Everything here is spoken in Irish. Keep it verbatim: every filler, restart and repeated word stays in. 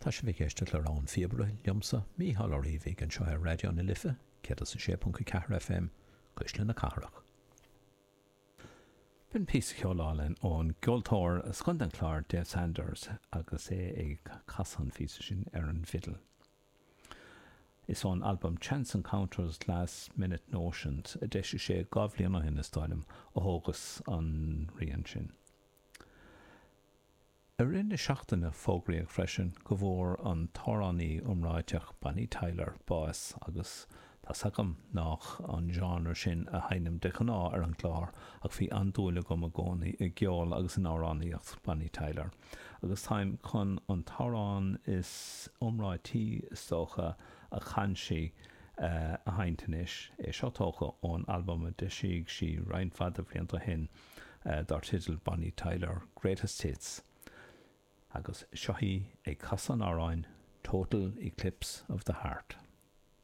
Tá sibh ag éisteacht le Rogha an Phíobaire liomsa, Mícheál Ó Riabhaigh, anseo ar Raidió na Life, céad is a sé ponc a ceathair FM, Cuisle na Cathrach. B'in píosa ceoil álainn ón gceoltóir as Contae an Chláir, Dave Sanders, agus é ag casadh an phíosa sin ar an bhfidil. Is ón albam Chance Encounters Last Minute Notions, a d'eisigh sé dhá bhliain ó shin, is dóigh liom, a thógas an rian sin. I rith na seachtaine fógraíodh freisin go bhfuair an t-amhránaí iomráiteach Bonnie Tyler bás agus tá's agam nách an genre sin a sheinnim de ghnáth ar an gclár ach bhí an-dúil agam i gcónaí i gceol agus in amhránaíocht Bonnie Tyler agus táim chun an t-amhrán is iomráití is dócha a chan sí a sheinnt anois, é seo tógtha ón albam a d'eisigh sí roinnt mhaith de bhlianta ó shin dar teideal Bonnie Tyler Greatest Hits agus seo í ag casadh an amhráin Total Eclipse of the Heart.